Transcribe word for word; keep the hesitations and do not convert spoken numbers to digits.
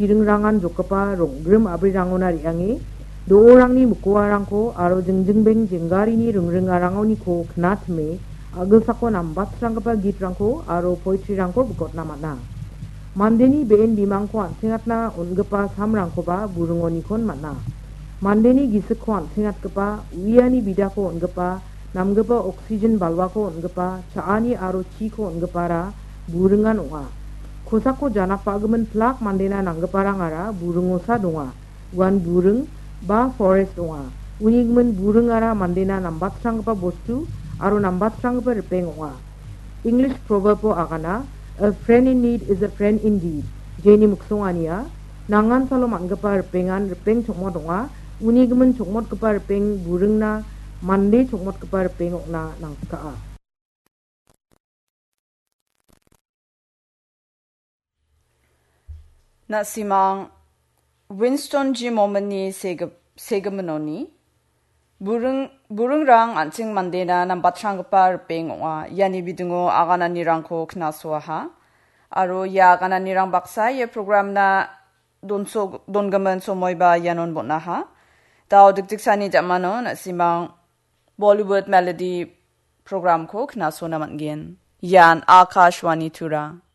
chiringrangan jokgipa rong·grim a·brirangona re·ange, do·orangni mikoarangko aro jingjingbeng jenggarini ringringarangoniko knatime, a·gilsako nambatranggipa gitrangko aro poetryrangko bikotna man·a. Mandeni be·en bimangko an·sengatna on·gipa samrangkoba buringonikon man·a. Mandeni gisikko an·sengatgipa, uiani bidako on·gipa, namgipa oksigen balwako on·gipa, cha·ani aro chiko on·gipara buringan ong·a. Kosako janakbagimin plak mandena nanggiparangara buringosa donga. Uan buring ba forest ong·a. Uni gimin buringara mandena nambatranggipa bostu aro nambatranggipa ripeng ong·a. English proverb-o agana, "A friend in need is a friend indeed." Jeni miksongania, nangan salo man·gipa ripengan ripeng chokmot ong·a, uni gimin chokmotgipa ripeng buringna mande chokmotgipa ripeng ong·na nangsikaa. Na·simang Winston G. Momini sege-, segiminoni, buring-, buringrang an·ching mandena nambatranggipa ripeng ong·a. Iani bidingo agananirangko knasoaha. Aro ia agananirang baksa ia programna donso-, dongimin somoiba ianon bon·aha. Dao dikdiksani jamano na·simang Bollywood Melody programko knasona man·gen. Ian Akashvani Tura.